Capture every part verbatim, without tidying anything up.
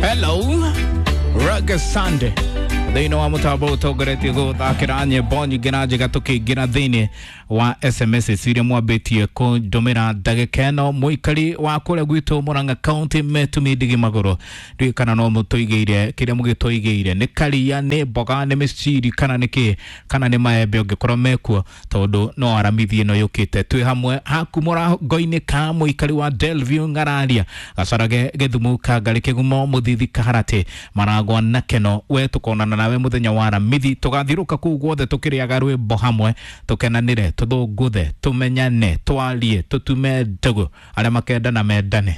Hello, Reggae Sunday thĩinĩ wa mũtambo ũtongoretie gũthakĩra nyĩmbo nyingĩ na njega tũkĩingĩra thĩinĩ wa S M S iria mwambĩtie kũndũmĩra ndagĩka ĩno. Mũikari wa kũrĩa gwitũ Murang'a County metumi ndigi magũrũ, ndiũĩ kana no mũtũigĩire kĩrĩa mũgĩtũigĩire, nĩ karia, nĩ mboga, nĩ mĩciri, kana nĩ kĩ, kana nĩ maembe ũngĩkorwo mekuo, tondũ no aramithi ĩno yũkĩte twĩ hamwe haku mũrango-inĩ ka mũikari wa Delview Ng'araria Gacarage Gĩthumu Kangari Kĩgumo Mũthithi Kaharatĩ Maragwa na Keno. We tũkonana nawe mũthenya wa Aramithi, tũgathiũrũka kũu guothe tũkĩrĩaga rwĩmbo hamwe, tũkenanĩre, tũthũngũthe, tũmenyane, twarie, tũtume ndũgũ, arĩa makendana mendane.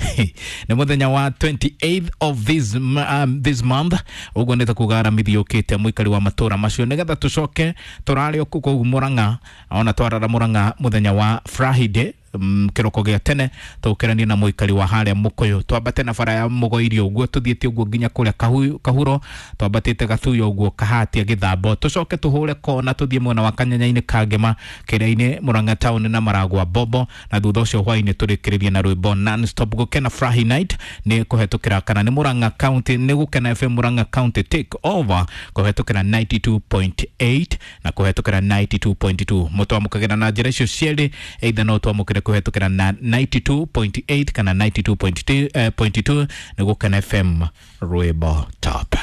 Nĩ mũthenya wa twenty-eighth of this, um, this month, ũguo nĩ ta kuga Aramithi yũkĩte, mũikari wa matũra macio, nĩgetha tũcoke tũrare o kũu Mũrang'a, ona twarara Mũrang'a mũthenya wa Friday mm, kĩroko gĩa tene, tũkĩranie na mũikari wa harĩa Mũkũyũ, twambate na bara ya Mũgoiri ũguo, tũthiĩte ũguo nginya kũrĩa Kahu- kahuro, twambatĩte Gathuya ũguo, Kahatia, Gĩthambo, tũcoke tũhũre kona tũthiĩ mwena wa Kanyanya-inĩ Kangema, Kĩrĩa-inĩ, Mũrang'a town na Maragwa Bobo, na thutha ũcio hwaĩ-inĩ tũrĩkĩrĩrie na rwĩmbo non stop gũkena Friday night nĩ kũhetũkĩra kana nĩ Murang'a County, nĩ Gũkena F M Murang'a County take over kũhetũkĩra ninety-two point eight na kũhetũkĩra ninety-two point two. Mũtwamũkagĩra na njĩra icio cierĩ, either no twamũkĩre kũhetũkĩra na ninety-two point eight kana ninety-two point two, eh, nĩ Gũkena F M, rwĩmbo top.